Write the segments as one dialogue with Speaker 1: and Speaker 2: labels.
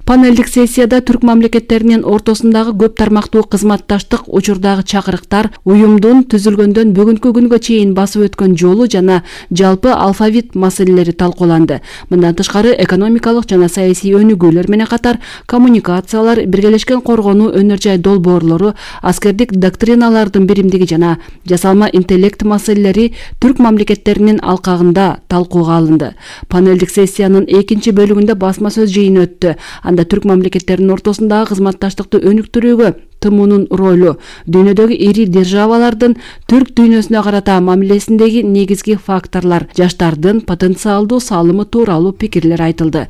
Speaker 1: Панелдик сессияда түрк мамлекеттеринин ортосундагы көп тармактуу кызматташтык учурдагы чакырыктар, уюмдун түзүлгөндөн бүгүнкү күнгө чейин басып өткөн жолу жана жалпы алфавит маселелери талкууланды. Мындан тышкары экономикалык жана саясий өнүгүүлөр менен катар коммуникациялар, биргелешкен коргонуу өнөр жай долбоорлору, аскердик доктриналардын биримдиги жана жасалма интеллект маселелери түрк мамлекеттеринин алкагында талкууга алынды. Панелдик сессиянын экинчи бөлүгүндө басма сөз жыйыны өттү. Анда түрк мамлекеттеринин ортосундагы кызматташтыкты өнүктүрүүгө ТМУнун ролу, дүйнөдөгү ири державалардын түрк дүйнөсүнө карата мамилесиндеги негизги факторлор, жаштардын потенциалдуу салымы тууралуу пикирлер айтылды.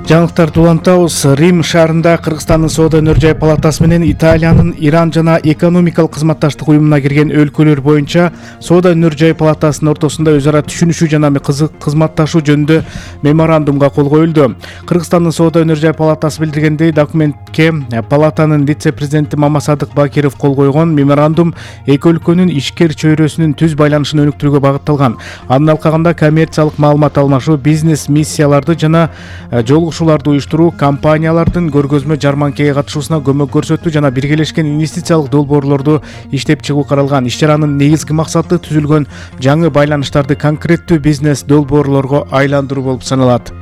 Speaker 2: Жаңылыктарды улантабыз. Рим шаарында Кыргызстандын Соода өнөр жай палатасы менен Италиянын Иран жана экономикалык кызматташтык уюмуна кирген өлкөлөр боюнча Соода өнөр жай палатасынын ортосунда өз ара түшүнүшүү жана кызматташуу жөнүндө меморандумга кол коюлду. Кыргызстандын Соода өнөр жай палатасы билдиргендей, документке палатанын вице-президенти Мамасадык Бакиров кол койгон. Меморандум эки өлкөнүн ишкер чөйрөсүнүн түз байланышын өнүктүрүүгө багытталган. Анын алкагында коммерциялык маалымат алмашуу, бизнес миссияларды жана жолугушууларды уюштуруу, компаниялардын көргөзмө жарманкеге катышуусуна көмөк көрсөтүү жана биргелешкен инвестициялык долбоорлорду иштеп чыгуу каралган. Иш-чаранын негизги максаты түзүлгөн жаңы байланыштарды конкреттүү бизнес долбоорлорго айландыруу болуп саналат.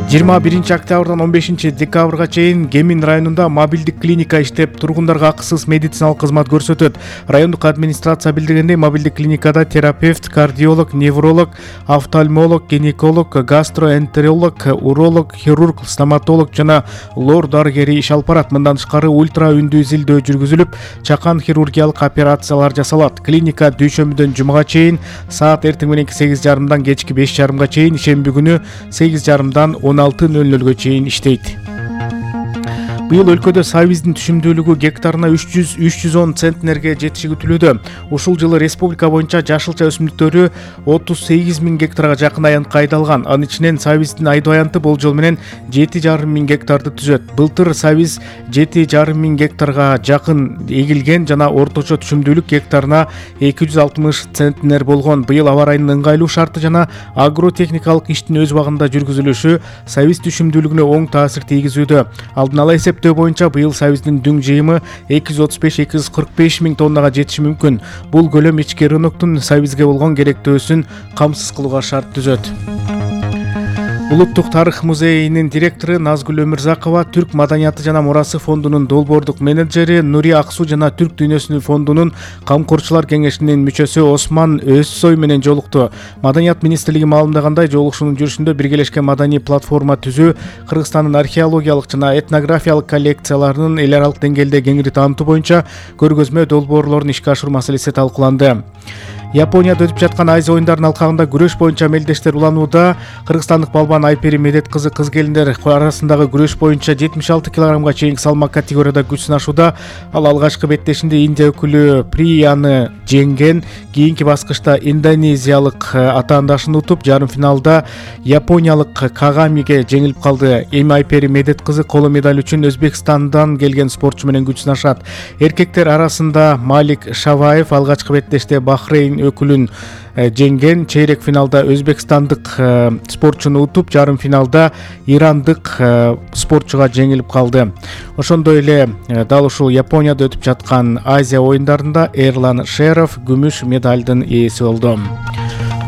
Speaker 2: 21 октябрдан 15 декабрга чейин Кемин районунда мобилдик клиника иштеп, тургундарга акысыз медициналык кызмат көрсөтөт. Райондук администрация билдиргендей, мобилдик клиникада терапевт, кардиолог, невролог, офтальмолог, гинеколог, гастроэнтеролог, уролог, хирург, стоматолог жана лор дарыгери иш алып барат. Мындан тышкары ультра үндүү изилдөө жүргүзүлүп, чакан хирургиялык операциялар жасалат. Клиника дүйшөмбүдөн жумага чейин саат эртең мененки 8:30-дан кечки 5:30-га чейин, шемби күнү 8:30-дан 16:00-га чейин иштейт. Быйыл өлкөдө сабиздин түшүмдүүлүгү гектарына 310 центнерге жетиши күтүлүүдө. Ушул жылы республика боюнча жашылча өсүмдүктөрү 38 000 гектарга жакын аянтка айдалган. Анын ичинен сабиздин айдоо аянты болжол менен 7,5 000 гектарды түзөт. Былтыр сабиз 7,5 000 гектарга жакын эгилген жана орточо түшүмдүүлүк гектарына 260 центнер болгон. Быйыл аба райынын ыңгайлуу шарты жана агротехникалык иштин өз убагында жүргүзүлүшү сабиз түшүмдүүлүгүнө оң таасир тийгизүүдө. Алдын ала эсептөө боюнча быйыл сабиздин дүң жыйымы 235-245 000 тоннага жетиши мүмкүн. Бул көлөм ички рыноктун сабизге болгон керектөөсүн камсыз кылууга шарт түзөт. Улуттук тарых музейинин директору Назгүл Өмүрзакова, Түрк маданияты жана мурасы фондунун долбоордук менеджери Нури Аксу жана Түрк дүйнөсүнүн фондунун камкорчулар кеңешинин мүчөсү Осман Өзсой менен жолукту. Маданият министрлиги маалымдагандай, жолугушуунун жүрүшүндө биргелешкен маданий платформа түзүү, Кыргызстандын археологиялык жана этнографиялык коллекцияларынын эл аралык деңгээлде кеңири таанытуу боюнча көргөзмө долбоорлорун ишке ашыруу маселеси талкууланды. Японияда өтүп жаткан Азия оюндарынын алкагында күрөш боюнча мелдештер уланууда. Кыргызстандык балбан Айпери Медет кызы кыз келиндер арасындагы күрөш боюнча 76 килограммга чейинки салмак категорияда күч сынашууда. Ал алгачкы беттешинде Индия өкүлү Прияны жеңген. Кийинки баскычта индонезиялык атаандашын утуп, жарым финалда япониялык Кагамиге жеңилип калды. Эми Айпери Медет кызы коло медаль үчүн Өзбекстандан келген спортчу менен күч сынашат. Эркектер арасында Малик Шаваев алгачкы беттеште Бахрейн өкүлүн жеңген. Чейрек финалда өзбекстандык спортчуну утуп, жарым финалда ирандык спортчуга жеңилип калды. Ошондой эле дал ушул Японияда өтүп жаткан Азия оюндарында Эрлан Шеров күмүш медалдын ээси болду.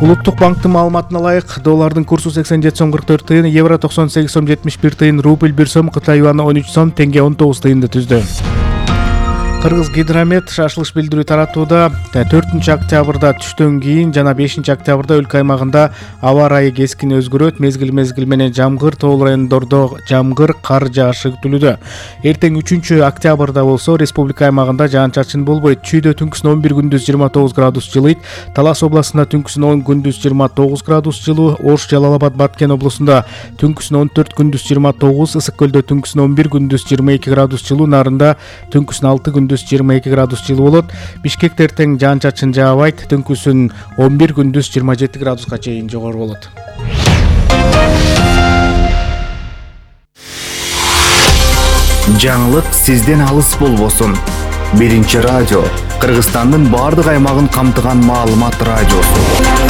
Speaker 2: Улуттук банктын маалыматына ылайык, доллардын курсу 87 сом 44 тыйын, евро 98 сом 71 тыйын, рубль 1 сом, Кытай юаны 13 сом, тенге 19 тыйынды түздү. Кыргыз гидромет шашылыш билдирүү таратууда 4 октябрда түштөн кийин жана 5 октябрда өлкө аймагында аба ырайы кескин өзгөрөт. Мезгил менен жамгыр, тоол райондордо жамгыр, кар жаашы күтүлүүдө. Эртең 3 октябрда болсо республика аймагында жаан-чачын болбойт. Чүйдө түнкүсүн 11, күндүз 29 градус жылыйт. Талас областында түнкүсүн 10, күндүз 29 градус жылуу. Ош, Жалал-Абад, Баткен областында түнкүсүн 14, күндүз 29, Ысык көлдө түнкүсүн 11, күндүз 22 градус жылуу. Нарында түнкүсүн 6, күндүз 22 градус жылуу болот. Бишкекте эртең жаан-чачын жаабайт. Түнкүсүн 11, күндүз 27 градуска чейин жогору болот.
Speaker 3: Жаңылык сизден алыс болбосун. Биринчи радио, Кыргызстандын бардык аймагын камтыган маалымат радиосу.